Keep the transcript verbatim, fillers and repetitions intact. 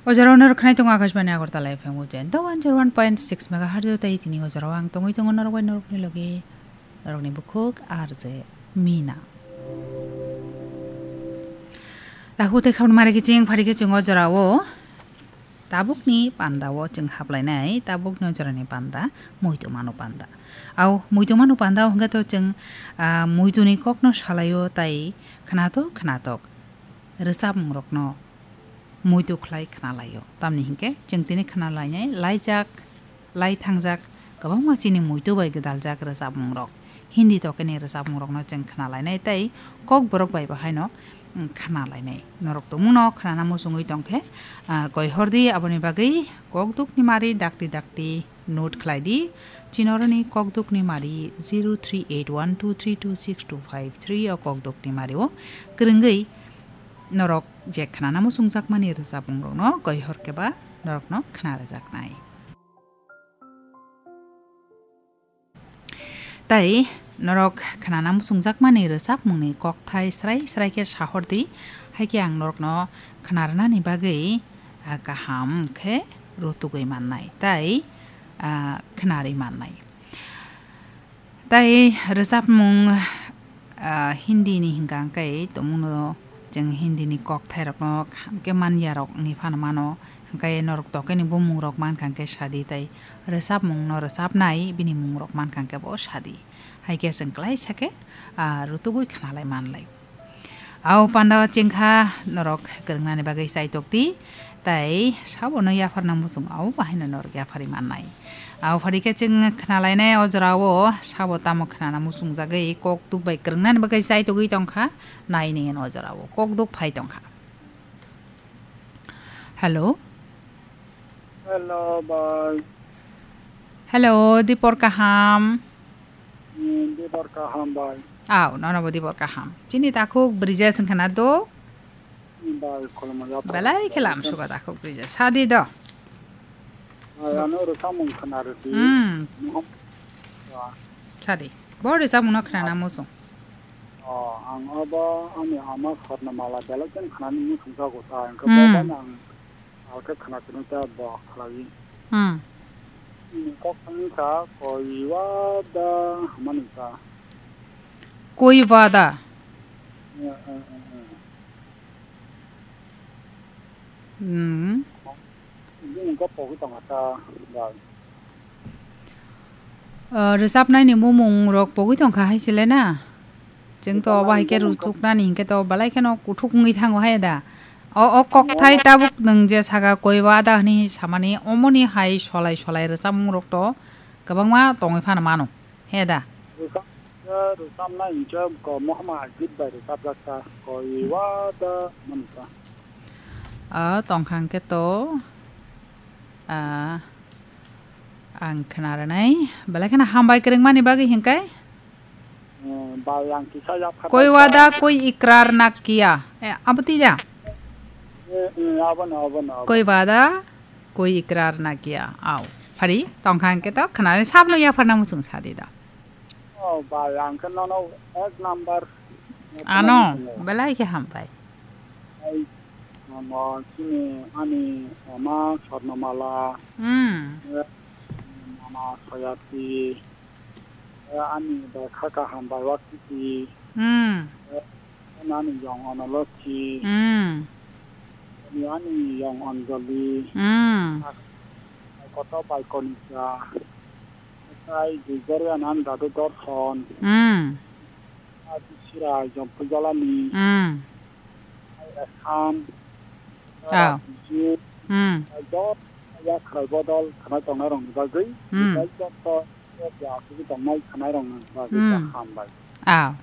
O jora o norok khnai tongo Akashbani Agartala F M o jen. Da one zero one point six megahertz o tei tini o jora o ang tongwi tongo norok bai norokni logi norokni bukhuk R J Mina. Takhuk tei khamni mari kiching phari kiching o jora o tabukni panda o chwng haplainai, tabukni o jorani panda muitu mano panda. Au muitu mano panda o hwnkhe to chwng, ah, muituni kokno salaio tai khnatok khnatok rwchapmungrokno muitu khlai khnalaio. Tamni hinkhe chwng tini khnalainai laijak, lai thangjak kwbangma chini muitu bai gwdaljak rwchapmungrok. Hindi tokeni rwchapmungrokno chwng khnalainai tei kokborok bai bahaino, mm, khnalainai. Norok tongmungno khnana muchungwi tongkhe, ah, koi hordi aboni bagwi kokdukni mari dakti dakti note khlaidi. Chinoroni kokdukni mari zero three eight one two three two six two five three o kokdukni mari o kwrwngwi norok je khnana muchungjakmani rwchapmungrokno koi hor khe ba norokno khna rwjaknai. Tai norok khnana muchungjakmani rwchapmungni kokthai srai srai khe sahordi, hai khe ang norokno khnarwnani bagwi, ah, kaham khe rutugwi mannai tai, ah, khnarwi mannai. Tai rwchapmung, ah, Hindi ni hwnkha hwnkhe tongmungno chwng Hindi ni kokthairokno kaham khe manyarok wngwi phano mano, hwnkhe norok tokeni bumungrok mankha hwnkhe sadi tai rwchapmungno rwchapnai bini mungrok mankha hwnkhe bo sadi. Hai khe chwng klaisa khe, ah, rutugwi khnalai manlai. Au panda o chengkha norok kwrwngnani bagwi chaitok di, tai sabono yapharna muchung au bahaino norok yapharwi mannai. Au phari khe chwng khnalainai o jora o sabo tamo khnana muchungjagwi kok duk bai kwrwngnani bagwi chaitogwi tongkha, nai nini o jora o kok duk phai tongkha. Hello. Hello, bai. Hello, dipor kaham. Hmm, dipor kaham, bai. Au, nono bo dipor kaham. Chini takhuk Brija sing khana do? Hmm, bai, khulumya. Belai khe lam suka takhuk Brija. Sadi do. Bai, ano rwchapmung khana rwdi. Hmm. Mohon. Sadi. Bo rwchapmung no khnana muchung. Oh, ang abo ani ama Swarnamala belai khe khnani muchung jago ta. Engkhe bo bai ang Alkhe khna kwrwng ta bo khlai. Hmm. Ni kok thangni sa koi wada hwnmani sa. Koi wada? Eh, eh, eh, eh. Hmm. Bini kok pogwi tongkha ta bai. Ah, rwchapnaini mumung rok pogwi tongkha hai se le na? Chwng to obo hai khe rwchapnaini hwnkhe to belai kheno kuthuk wngwi thango hai da. O, o kokthai tabuk nwng je saka koi wada hwnwi samani, omoni hai solai solai rwchapmung rok to kwbangma tongwi phano mano, he da? Rwchap-, rwchapnai hwnkhe ko mohama git bai rwchapjak ta, koi wada hwnmani ta. O, tongkha hwnkhe to, ah, ang khna rwnai. Belai kheno hambai kwrwngmani bagwi hwnkhe. Eh, bai, ang kisa yak kha Koi bai wada, kha. Koi ikrar na kiya. Eh, abo twi da? Eh, eh, abono, abono, abono. Koi wada, koi ikrar na kiya. Au. Phari, tongkha hwnkhe to, khwnani sabno yapharna muchung sadi da. Oh, bai, ang khe nono ek number. Ano, belai khe hambai. Ai, ano, chini, ani, ama, Swarnamala. Hmm. Eh, mama, Soyati. Eh, ani bai kha kaham bai waktiti. Hmm. Eh, ani yong Onolokhi. Hmm. Ani, ani yong Anjali. Hmm. Koto bai Konika. Tai Gregorian ani dadu Dorson. Hmm. Ati Sira Jompujalani. Hmm. Ai Ekhan. Ah. Biju. Hmm. Ai dot ya khwrai bodol khanai tongnai rokni bagwi. Hmm. Bai jotto ya asugwi tongnai khanai rokni bagwi Hmm. Kaham bai. Ah,